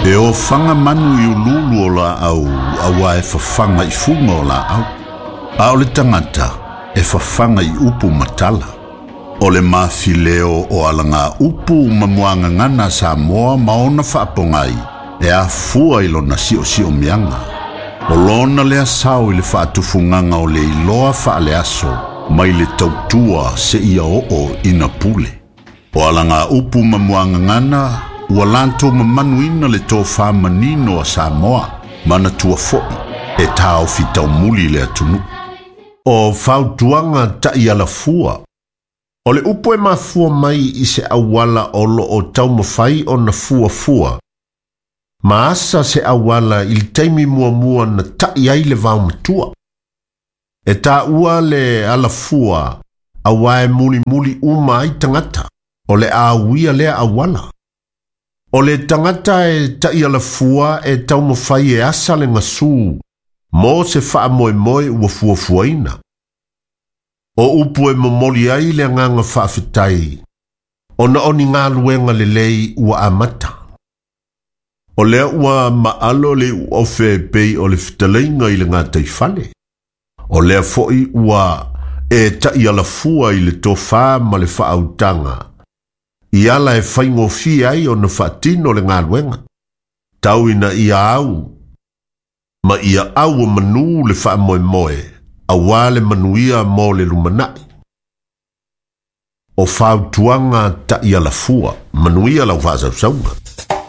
E ofaga manu i uluulu o laau auā e fafaga i fuga o laau. A o le tagata e fafaga i upu ma tala. O le mafileo o alagaupu ma muagagana a Samoa ma ona faapogai e afua i lona siosiomiaga. O lona lea sao i le faatufugaga o le iloa faaleaso mai le tautua seia oo ina pule. O alagaupu ma muagagana ua latou mamanuina le tofā manino a Samoa manatua foi e taofi taumuli le atunuu. O fautuaga taʻialafua. O le upu e mafua mai i se auala o loo taumafai ona fuafua ma asa se auala i le taimi muamua na taʻi ai le vaomatua. E taua le alafua auā e mulimuli uma ai tagata o le a uia lea auala. O le tagata e taʻialafua e taumafai e asa le gasū mo se faamoemoe ua fuafuaina. O upu e momoli ai le agaga faafetai ona o ni galuega lelei ua amata. O lea ua maalo le iuofe pei o le fetalaiga i le gataifale. O lea foi ua e taʻialafua i le tofā ma le faautaga i ala e faigofie ai ona faatino le galuega. Tau ina ia au ma ia auamanū le faamoemoe auā le manuia mo le lumanai. O fautuaga taʻialafua, manuia lau faasausauga.